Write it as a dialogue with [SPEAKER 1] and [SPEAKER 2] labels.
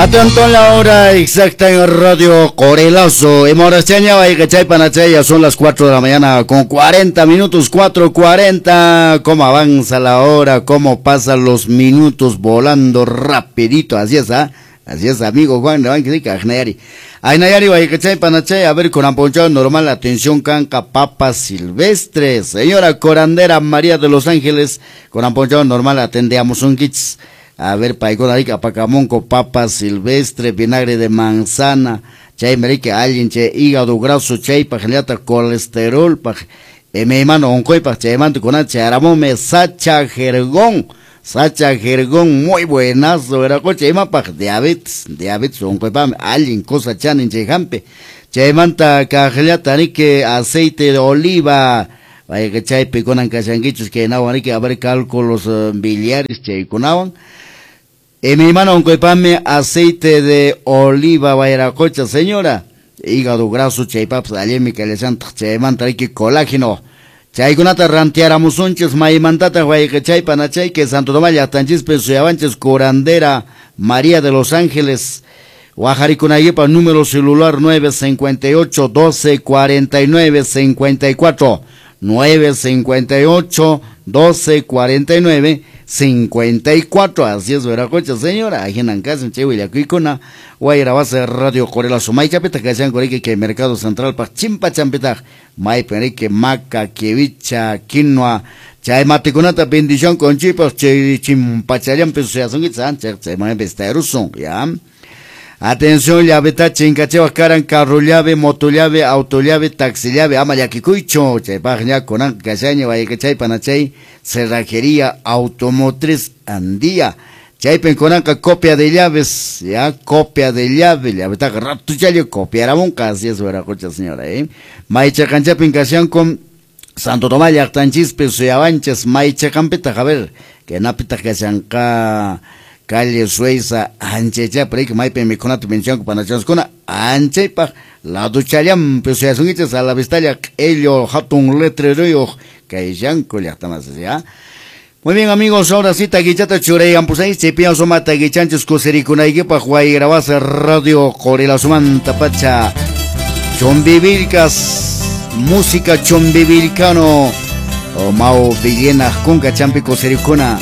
[SPEAKER 1] Atento la hora exacta en Radio Corelazo. Ya son las 4 de la mañana con 40 minutos, 4:40. Cómo avanza la hora, cómo pasan los minutos volando rapidito. Así es, ¿ah? Así es, amigo Juan, Aynayari, a ver, con amponchado normal, atención, canca, papa silvestre. Señora Corandera María de los Ángeles, con amponchado normal, atendemos un kits. A ver, paikuna rika pacamonco, papa silvestre, vinagre de manzana, chay marica, alguien che hígado graso, chay pajliata, colesterol, paj, mano oncoy, paj, chay manto con charamome, sacha jergón, muy buenazo, era coche, ima paj, diabetes, oncoy pam, alguien cosa chanin chay jampe, chay manta cajliata, que aceite de oliva, vaya que chay piconan cachanguichos, que nawan, que a ver cálculos biliares, chay conawan. Mi hermano, oncoipame, aceite de oliva, guayracocha, señora. Hígado graso, chaypaps, alemi, calesanta, chaymanta, colágeno. Chaykunata rantiaramusunchis, maymantata, guayquechaypa, nachay, que Santo Tomás, Yatanchispe, Suyabanches, curandera, María de los Ángeles, Guajaricunayipa, número celular 958 12 49 54. 958 12 49 54. Así es, Veracocha, señora. Ajinan casa, Chihuillacuicuna, Guaira base Radio Corelazo, Maychapita, Cachan, Corique, que Mercado Central, pa Chimpa Champita, Mayperique, Maca, Quevicha, Quinoa, Chaymaticunata, bendición con chipas, Chimpachallampe, Suyasunguitza, Chaymaepesterusun, ya. Atención, llaveta, chincachewa, caran, carro llave, moto llave, auto llave, taxi llave, ama yaquicuicho, chaypajña, conan, cachaña, vallecachay, panachay, cerrajería, automotriz, andía. Chaypen conanca, copia de llaves, ya, copia de llave, llaveta, rato chayo, copiaramonca, así es, veracocha, señora, Maicha canchapin, casian con Santo Tomás, yactanchispe, suyabanches, maicha campeta, a ver, que napita, casianca, calle Suiza, anchecha, pero que maipe miconato menciono panachascona, anchepa, la duchayam, pues ya son a la vistalla, ello, hatun letrero, que yanco, ya está más ya. Muy bien, amigos, ahora sí, taguichata chureyan, pues ahí se pian soma taguichanchos, cosericunaiguepa, guayrabasa, Radio Corelazumanta, pacha, chombivilcas, música chombivilcano, o Mao Villena, cunca, champi, cosericuna.